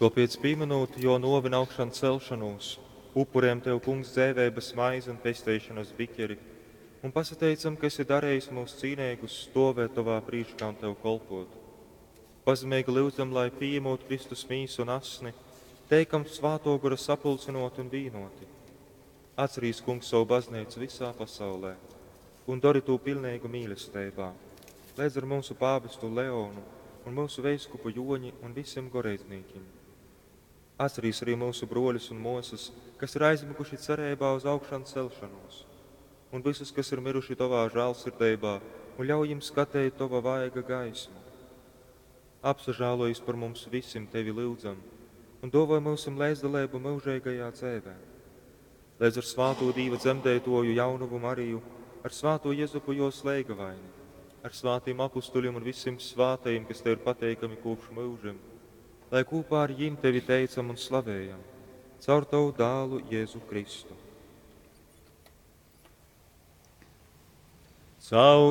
Tōpēc, pīmynūt Jō nōvi un augšancelšonūs, upurejam Tev, Kungs, dzeiveibas maizi un pesteišonas biķeri un pasateicam, ka esi darejis myus cīneigus stōvēt Tovā prīškā un Tev kolpōt. Pazemeigi lyudzam, lai, pījemūt Kristus mīsu un asni, teikam Svātō Gora sapulcynōti un vīnōti. Atcerīs, Kungs, sovu Bazneicu vysā pasaulē un dori tū piļneigu mīlesteibā, leidz ar myusu pāvestu Leonu un myusu veiskupu Jōņi un vysim goreidznīkim. Atcerīs arī myusu brōļus un mōsas, kas ir aizmyguši cereibā uz augšancelšonūs, un vysus, kas ir myruši Tovā žālsirdeibā, un ļauj jim skateit Tova vaiga gaismu. Apsažālojis par mums vysim, Tevi lyudzam, un dōvoj myusim leidzdaleibu myužeigajā dzeivē. Leidz ar svātū Dīva dzemdeitōju jaunovu Mariju, ar svātū Jezupu jōs leigavaini, ar svātim apustuļim un vysim svātajim, kas Tev ir pateikami kopš myužim, lai kopā ar jim Tevi teicam un slavējam, caur Tavu dālu Jēzu Kristu. Caur